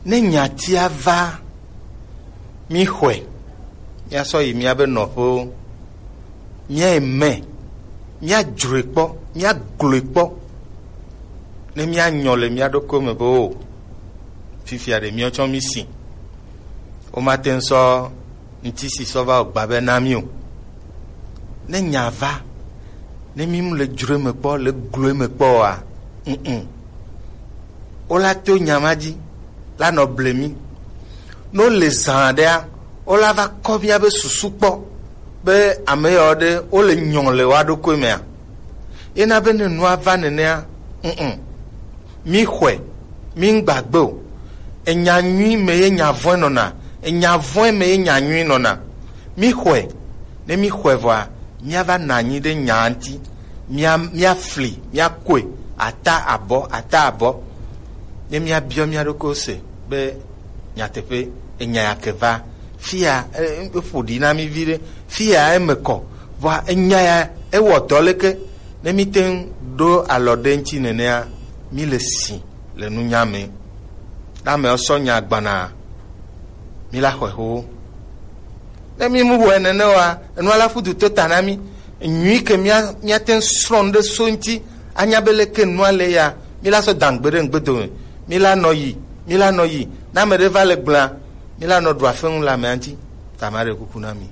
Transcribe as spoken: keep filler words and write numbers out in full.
Ne nyatia va, míxɔe, míasɔ yi míabe nɔƒewo, míayi me, míadzroe kpɔ, míagloe kpɔ, ne míanyɔ le mía ɖokuiwo me be o, fifia ɖe míatsɔ mí si. Womate ŋu sɔ ŋutisi sɔ va wɔ gbabe na mí o. Ne nya va, ne mí mu le dzroe me kpɔ, le gloe me kpɔ oa, mm, o la to nya ma dzi la nɔ ble mí. Ne wole zã ɖea, wola va kɔ míabe susu kpɔ be ame yawo ɖe wole nyɔ le woa ɖokui mea. Yena be ne nua va nenea, mm, mí xɔe, mí ŋgbagbe o. Enya nyui me ye nya vɔ̃e nɔna, enya vɔ̃e me ye nya nyui nɔna. Mí xɔe, ne mí xɔe vɔa, míava nɔ anyi ɖe nya ŋuti, mía míafli, míakoe, ata abɔ, ata abɔ. Ne míabiɔ mía ɖokuiwo se be nyateƒe enya ya ke va fia, e, e, eƒo ɖi na mí vi ɖe, fia eme kɔ, vɔa enya ya ewɔ dɔ leke, ne míte ŋu ɖo alɔ ɖe ŋuti nenea, mí le si le nunya me. Ne amewo sɔ nya gbana, mí la xɔe xoxo. Ne mí mu wɔe nene oa, enua la ƒu du to ta na mí. Nyui ke mía míate ŋu srɔ̃ nu ɖe so ŋuti, anya be leke nua le ya, mí la sɔ da ŋugbe ɖe ŋugbe dome. Mí la nɔ yi, mí la nɔ yi. Ne ame ɖe va le gblẽa, mí la nɔ ɖu afeŋu le amea ŋuti. Ta ma ɖe kuku na mi.